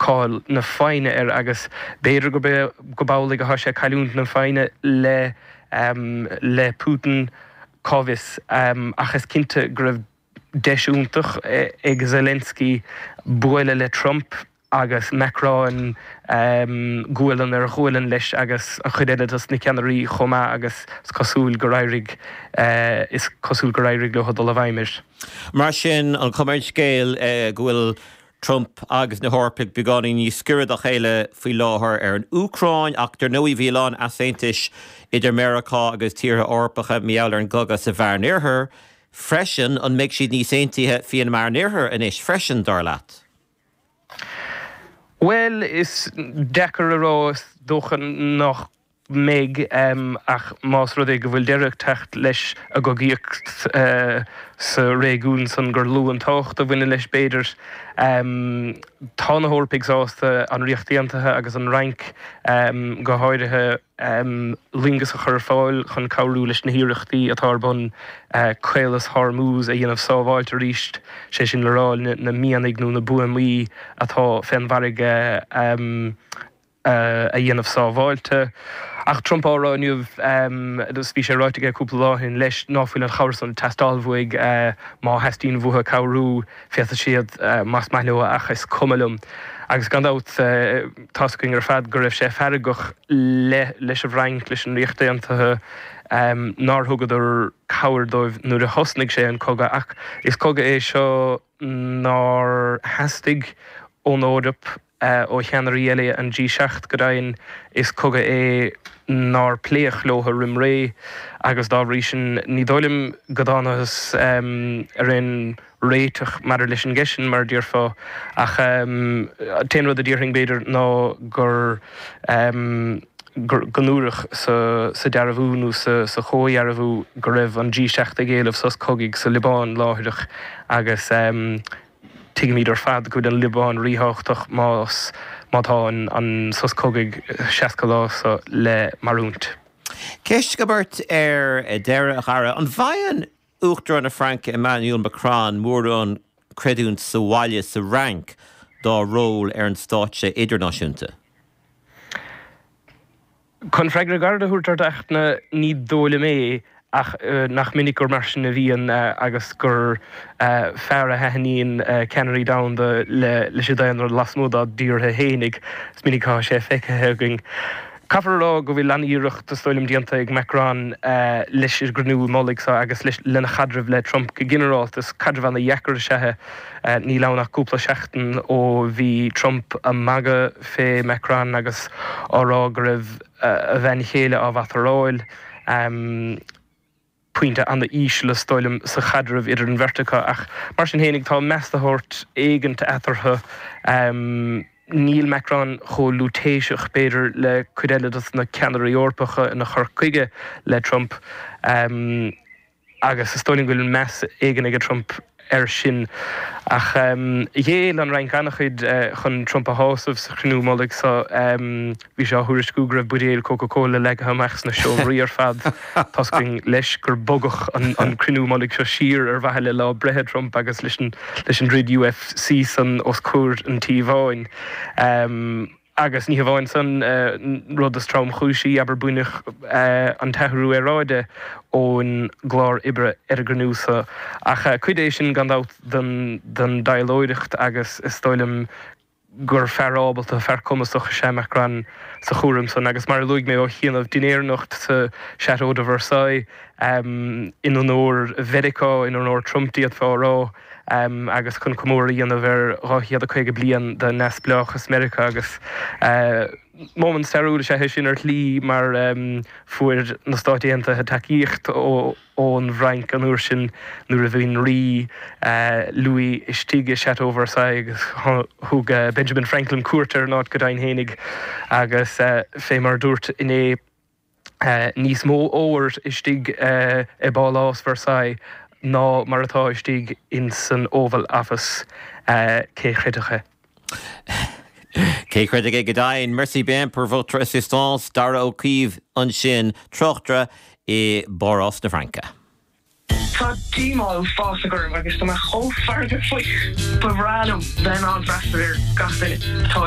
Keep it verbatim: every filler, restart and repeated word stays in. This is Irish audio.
cáil na foighne air agus b'fhéidir go go b'amhlaidh atá sé ag cailliúint na foighne le le Putin cá bhfios ach is cinnte go raibh deis iontach ag Zelensky bualadh le Trump agus Macron gualainn ar ghualainn leis agus an chuid eile dos na ceannairí chomh maith agus is cosúil gur éirigh is cosúil gur éirigh leo dul i bhfeidhm air. Mar sin an chuma ar an scéal go bhfuil Trump agus na hEorpaigh beagáinín níos giorra dá chéile faoi láthair ar an Úcráin ach dar ndóigh bhí a lán easaontais idir Meiriceá agus tíortha Eorpacha mar gheall ar an gcogadh sa Mheánoirthear freisin an mbeidh siad níos aontaithe faoin Meánoirthear anois freisin dar leat. Well is deacair a rá is dócha nach mbeidh ach más rud é go bhfuil deireadh ag teacht leis an gcogaíocht sa réigiún san gur lú an tábhacht a bhaineann leis b'fhéidir. Tá na hEorpaigh sásta an Ríocht Aontaithe agus an Fhrainc go háirithe loingeas a chur ar fáil chun cabhrú leis na hiarrachtaí atá ar bun Caolas Hormuz a dhéanamh sábháilte arís, sé sin le rá na mianaigh nó na buamaí atá fén bhfarraige a dhéanamh sábháilte. Ach Trump á rá inniu agus bhí sé ráite aige cúpla lá ó shin leis ná fuil an chabhair san ag teastáil uaidh má theastaíonn uathu cabhrú féadfaidh siad más maith leo ach is cuma liom. Agus gan dabht tá's againn ar fad go raibh sé feargach le leis an bhFrainc, leis an Ríocht Aontaithe nár thugadar cabhair dóibh nuair a thosnaigh sé an cogadh ach is cogadh é seo nár theastaigh ón Eoraip ó cheannairí eile an G seacht go deimhin is cogadh é nár pléadh leo roimh ré agus dá bhrí sin ní dóigh liom go dtángthas ar aon réiteach maidir leis an gceist sin mar a déarfá ach an t-aon rud a déarfainn b'fhéidir ná gur go ndúradh sa dearbhú nó sa chomhdhearbhú go raibh an G seacht ag éileamh sos cogaidh sa Liobáin láithreach agus Tuigimid ar fad go bhfuil an Liobáin ríthábhachtach más má tá an sos cogaidh seasca lá seo le mairiúint. Ceist agam ort ar deireadh, a Dhara. An bhfaigheann Uachtarán na Fraince Emmanuel Macron mórán creidiúint sa bhaile sa Fhrainc dá ról ar an stáitse idirnáisiúnta? Chun freagra gairid a thabhairt ort, a Fhachtna, ní dóigh liom é, ach nach minic gur mar sin a bhíonn agus gur fearr a thaitníonn ceannairí domhanda leis an daonra lasmuigh dá dtíortha fhéinig. Is minic atá sé feicthe againn. Caithfear a rá go bhfuil an-iarracht, is dóigh liom, déanta ag Macron leis an gcruinniú mullaigh seo agus lena chaidreamh le Trump go ginearálta. Is caidreamh an-dheacair is ea é. Níl ann ach cúpla seachtain ó bhí Trump ag magadh fé Macron agus á rá go raibh a bhean chéile á bhataráil. Pointe an-íseal is dóigh liom sa chaidreamh idir an bheirt acu ach mar sin fhéinig tá meas de shórt éigint eatarthu. Níl Macron chomh lúitéiseach b'fhéidir le cuid eile dos na ceannairí Eorpacha ina chur chuige le Trump. Agus is dóigh liom go bhfuil meas éigin ag Trump air sin. Ach ghéill an Fhrainc an-chuid chun Trump a shásamh sa chruinniú mullaigh seo. Bhí sé á thuairisciú go raibh buidéil Coca-Cola leagtha amach sna seomraí ar fad. Tá's againn leis gur bogadh an cruinniú mullaigh seo siar ar mhaithe le lá breithe Trump agus leis an dtroid UFC san os comhair an Tí Bháin. Agus ní hamháin san, rud is tromchúisí, abair, baineadh an t-athrú aeráide ón gclár oibre ar an gcruinniú seo. Ach cuid é sin, gan dabht, den dtaidhleoireacht agus is dóigh liom gur fear ábalta, fear cumasach is ea Macron sa chúram san. Agus mar a luaigh mé ó chianaibh, dinnéar anocht sa Château de Versailles in onóir Mheiriceá, in onóir Trump d'fhéadfá a rá. agus chun comóradh a dhéanamh ar dhá chéad a caoga bliain de neamhspleáchas Meiriceá agus móimint stairiúil is ea é sin ar shlí mar fuair na Stáit Aontaithe tacaíocht ón bhFrainc an uair sin nuair a bhí an Rí Louis istigh i Chateau Versailles agus thug Benjamin Franklin cuairt ar an áit go deimhin fhéinig agus fé mar a dúirt inné níos mó óir istigh i bPálás Versailles ná mar atá istigh ins an Oval Office. Cé chreidfeadh é? Cé chreidfeadh é go deimhin? Merci bien pour votre assistance, Dara Ó Caoimh ansin, tráchtaire i bPárás na Fraince. Tá díomá uafásach orm agus tá mé chomh feargach faoi. Ba bhreá liom bheith in ann freastal ar gach duine. Tá.